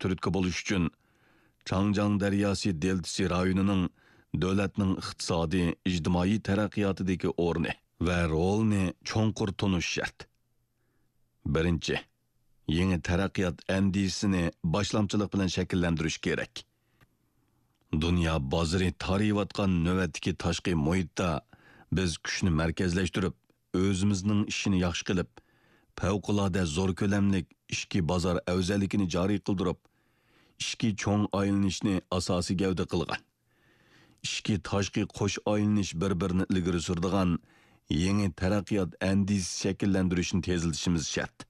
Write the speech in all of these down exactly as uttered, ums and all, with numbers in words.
تۈرتكە بولۇش ئۈچۈن، چاڭجياڭ دەرياسى دېلتىسى رايونىنىڭ دۆلەتنىڭ ئىقتىسادىي، ئىجتىمائىي تەرەققىياتىدىكى ئورنى ۋە رولىنى چوڭقۇر تونۇش شەرت. بىرىنچى، يېڭى تەرەققىيات ئەندىزىسىنى باشلامچىلىق بىلەن شەكىللەندۈرۈش كېرەك. دۇنيا بازىرى تارىيىۋاتقان نۆۋەتتىكى تاشقى مۇھىتتا بىز كۈچنى مەركەزلەشتۈرۈپ، ئۆزىمىزنىڭ ئىشىنى ياخشى قىلىپ، پەۋقۇلئاددە زور كۆلەملىك ئىچكى بازار ئەۋزەللىكىنى جارى قىلدۇرۇپ، ئىچكى چوڭ ئايلىنىشنى ئاساسىي گەۋدە قىلغان، ئىچكى تاشقى قوش ئايلىنىش بىر-بىرىنى ئىلگىرى سۈرىدىغان يېڭى تەرەققىيات ئەندىزىسى شەكىللەندۈرۈشنى تېزلىتىشىمىز شەرت.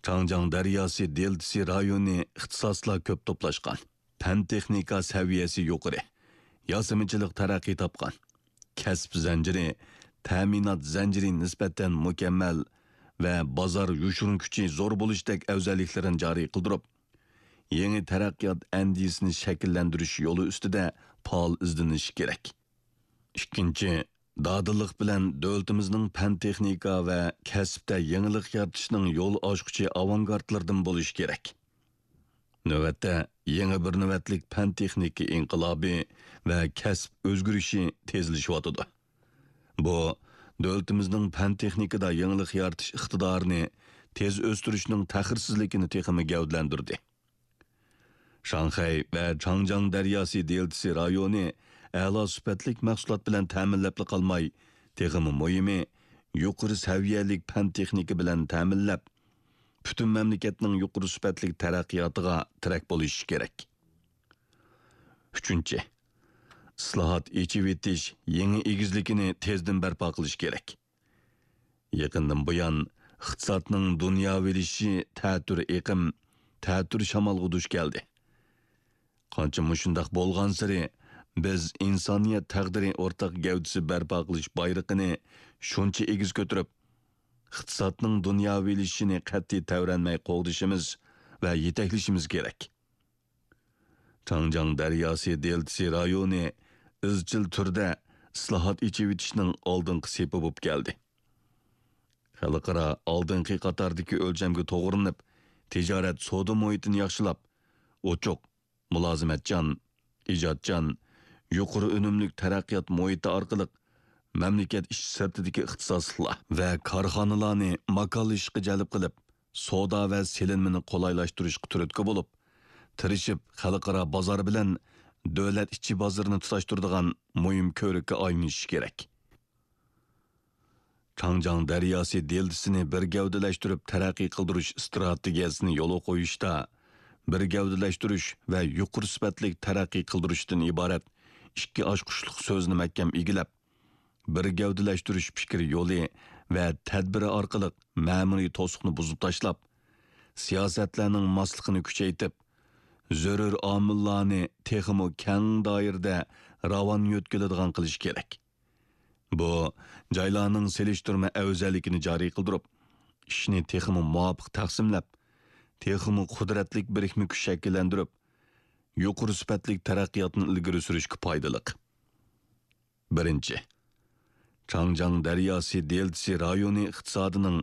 چاڭجياڭ دەرياسى دېلتىسى رايونى ئىختىساسلار كۆپ توپلاشقان، پەن-تېخنىكا سەۋىيەسى يۇقىرى، ياسىمىچىلىق تەرەققىي تاپقان، كەسىپ زەنجىرى، تەمىنات زەنجىرى نىسبەتەن مۇكەممەل ۋە بازار يوشۇرۇن كۈچى زور بولۇشتەك ئەۋزەللىكلىرىنى جارى قىلدۇرۇپ، يېڭى تەرەققىيات ئەندىزىسىنى شەكىللەندۈرۈش يولى ئۈستىدە پائال ئىزدىنىشى كېرەك. ئىككىنچى، دادىللىق بىلەن دۆلىتىمىزنىڭ پەن-تېخنىكا ۋە كەسىپتە يېڭىلىق يارىتىشنىڭ يول ئاچقۇچى ئاۋانگارتلىرىدىن بولۇشى كېرەك. نۆۋەتتە يېڭى بىر نۆۋەتلىك پەن-تېخنىكا ئىنقىلابى ۋە كەسىپ ئۆزگىرىشى تېزلىشىۋاتىدۇ. بۇ، دۆلىتىمىزنىڭ پەن-تېخنىكىدا يېڭىلىق يارىتىش ئىقتىدارىنى تېز ئۆستۈرۈشنىڭ تەخىرسىزلىكىنى تېخىمۇ گەۋدىلەندۈردى. شاڭخەي ۋە چاڭجياڭ دەرياسى دېلتىسى رايونى ئەلا سۈپەتلىك مەھسۇلات بىلەن تەمىنلەپلا قالماي، تېخىمۇ مۇھىمى، يۇقىرى سەۋىيەلىك پەن-تېخنىكا بىلەن تەمىنلەپ، پۈتۈن مەملىكەتنىڭ يۇقىرى سۈپەتلىك تەرەققىياتىغا تىرەك بولۇشى كېرەك. ئۈچىنچى، ئىسلاھات، ئېچىۋېتىش يېڭى ئېگىزلىكىنى تېزدىن بەرپا قىلىش كېرەك. يېقىندىن بۇيان، ئىقتىسادنىڭ دۇنياۋىلىشىشى تەتۈر ئېقىم، تەتۈر شامالغا دۇچ كەلدى. قانچە مۇشۇنداق بولغانسېرى، بىز ئىنسانىيەت تەقدىرى ئورتاق گەۋدىسى بەرپا قىلىش بايرىقىنى شۇنچە ئېگىز كۆتۈرۈپ، ئىقتىسادنىڭ دۇنياۋىلىشىشىنى قەتئىي تەۋرەنمەي قوغدىشىمىز ۋە يېتەكلىشىمىز كېرەك. چاڭجياڭ دەرياسى دېلتىسى رايونى ئىزچىل تۈردە ئىسلاھات، ئېچىۋېتىشنىڭ ئالدىنقى سېپى بولۇپ كەلدى. خەلقئارا ئالدىنقى قاتاردىكى ئۆلچەمگە توغرىلىنىپ، تىجارەت، سودا مۇھىتىنى ياخشىلاپ، ئوچۇق، مۇلازىمەتچان، ئىجادچان، يۇقىرى ئۈنۈملۈك تەرەققىيات مۇھىتى ئارقىلىق مەملىكەت ئىچى سىرتىدىكى ئىختىساسلىقلار ۋە كارخانىلارنى ماكانلىشىشقا جەلپ قىلىپ، سودا ۋە سېلىنمىنى قولايلاشتۇرۇشقا تۈرتكە بولۇپ، تىرىشىپ خەلقئارا بازار بىلەن دۆلەت ئىچى بازىرىنى تۇتاشتۇرىدىغان مۇھىم كۆۋرۈككە ئايلىنىشى كېرەك. چاڭجياڭ دەرياسى دېلتىسىنى بىر گەۋدىلەشتۈرۈپ تەرەققىي قىلدۇرۇش ئىستراتېگىيەسىنى يولغا قويۇشتا، بىر گەۋدىلەشتۈرۈش ۋە يۇقىرى سۈپەتلىك تەرەققىي قىلدۇرۇشتىن ئىبارەت ئىككى ئاچقۇچلۇق سۆزنى مەھكەم ئىگىلەپ، بىر گەۋدىلەشتۈرۈش پىكىر يولى ۋە تەدبىرى ئارقىلىق مەمۇرىي توسۇقنى بۇزۇپ تاشلاپ، سىياسەتلەرنىڭ ماسلىقىنى كۈچەيتىپ، زۆرۈر ئامىللارنى تېخىمۇ كەڭ دائىرىدە راۋان يۆتكىلىدىغان قىلىش كېرەك. بۇ، جايلارنىڭ سېلىشتۇرما ئەۋزەللىكىنى جارى قىلدۇرۇپ، ئىشنى تېخىمۇ مۇۋاپىق تەقسىملەپ، تېخىمۇ قۇدرەتلىك بىرىكمە كۈچ شەكىللەندۈرۈپ، يۇقىرى سۈپەتلىك تەرەققىياتنى ئىلگىرى سۈرۈشكە پايدىلىق. بىرىنچى، چاڭجياڭ دەرياسى دېلتىسى رايونى ئىقتىسادىنىڭ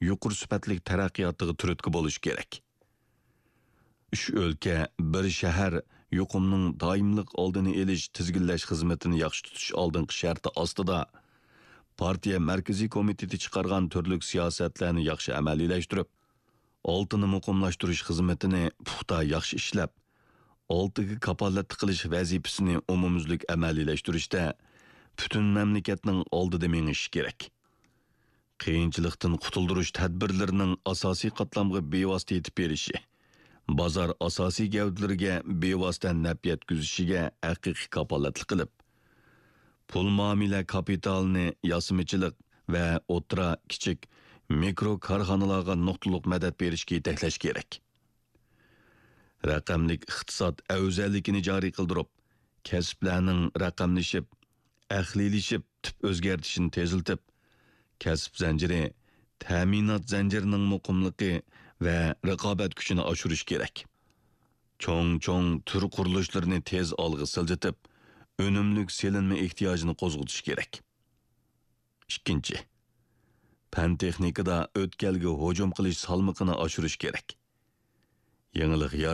يۇقىرى سۈپەتلىك تەرەققىياتىغا تۈرتكە بولۇش كېرەك. ئۈچ ئۆلكە، بىر شەھەر يۇقۇمنىڭ دائىملىق ئالدىنى ئېلىش، تىزگىنلەش خىزمىتىنى ياخشى تۇتۇش ئالدىنقى شەرتى ئاستىدا، پارتىيە مەركىزىي كومىتېتى چىقارغان تۈرلۈك سىياسەتلەرنى ياخشى ئەمەلىيلەشتۈرۈپ، ئالتىنى مۇقىملاشتۇرۇش خىزمىتىنى پۇختا ياخشى ئىشلەپ، ئالتىگە كاپالەتلىك قىلىش ۋەزىپىسىنى ئومۇميۈزلۈك ئەمەلىيلەشتۈرۈشتە پۈتۈن مەملىكەتنىڭ ئالدىدا مېڭىشى كېرەك. قىيىنچىلىقتىن قۇتۇلدۇرۇش تەدبىرلىرىنىڭ ئاساسىي قاتلامغا بىۋاسىتە يېتىپ بېرىشى، بازار ئاساسىي گەۋدىلىرىگە بىۋاسىتە نەپ يەتكۈزۈشىگە ھەقىقىي كاپالەتلىك قىلىپ، پۇل مۇئامىلە كاپىتالىنى ياسىمىچىلىق ۋە ئوتتۇرا، كىچىك، مىكرو كارخانىلارغا نۇقتىلىق مەدەت بېرىشكە يېتەكلەش كېرەك. رەقەملىك ئىقتىساد ئەۋزەللىكىنى جارى قىلدۇرۇپ، كەسىپلەرنىڭ رەقەملىشىپ، ئەقلىيلىشىپ، تۈپ ئۆزگەرتىشىنى تېزلىتىپ، كەسىپ زەنجىرى، تەمىنات زەنجىرىنىڭ مۇقىملىقى ۋە رىقابەت كۈچىنى ئاشۇرۇش كېرەك. چوڭ-چوڭ تۈر قۇرۇلۇشلىرىنى تېز ئالغا سىلجىتىپ، ئۈنۈملۈك سېلىنما ئېھتىياجىنى قوزغىتىش كېرەك. ئىككىنچى، پەن-تېخنىكىدا ئۆتكەلگە ھۇجۇم قىلىش سالمىقىنى ئاشۇرۇش كېرەك. يېڭىلىق